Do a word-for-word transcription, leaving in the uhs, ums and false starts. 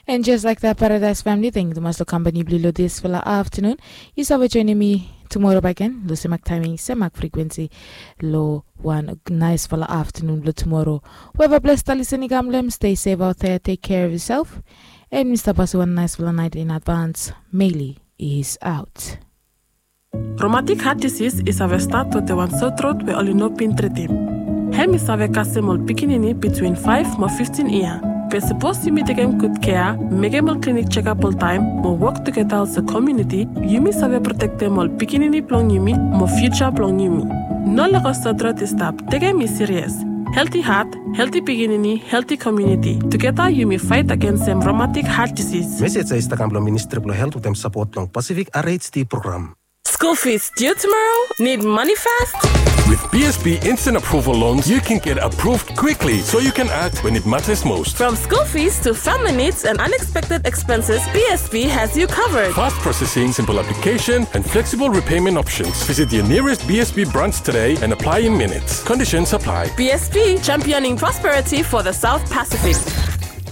And just like that, Paradise family, thank you tumas long kampani blong yu long disfala aftanun. Yu save joinim mi tumora bakegen long semak taiming, semak frekwensi, long wan naisfala aftanun blong tumora. Weva ples talisin i kam long hem, stay safe out there, take care of yourself. And mi stap pasim wan naisfala nait in advance. Meli is out. Romatik hat disis i save stat wetem wan sotrot we oli no bin tritim. Hem i save kasem ol pikinini bitwin faef mo fiftin yia. Be sapos yumi tekem gud kea, mekem ol klinik jekap oltaem, mo wok tugeta olsem komuniti, yumi save protektem ol pikinini blong yumi mo fiuja blong yumi. No lego sotrot i stap, tekem i sirias. Helti hat, helti pikinini, helti komuniti. Tugeta yumi faet agensem romatik hat disis. Mesej ya i stap kam blong Ministri blong Helt wetem sapot blong Pasifik R H D program. School fees due tomorrow? Need money fast? With B S B Instant Approval Loans, you can get approved quickly so you can act when it matters most. From school fees to family needs and unexpected expenses, B S B has you covered. Fast processing, simple application, and flexible repayment options. Visit your nearest B S B branch today and apply in minutes. Conditions apply. B S B, championing prosperity for the South Pacific.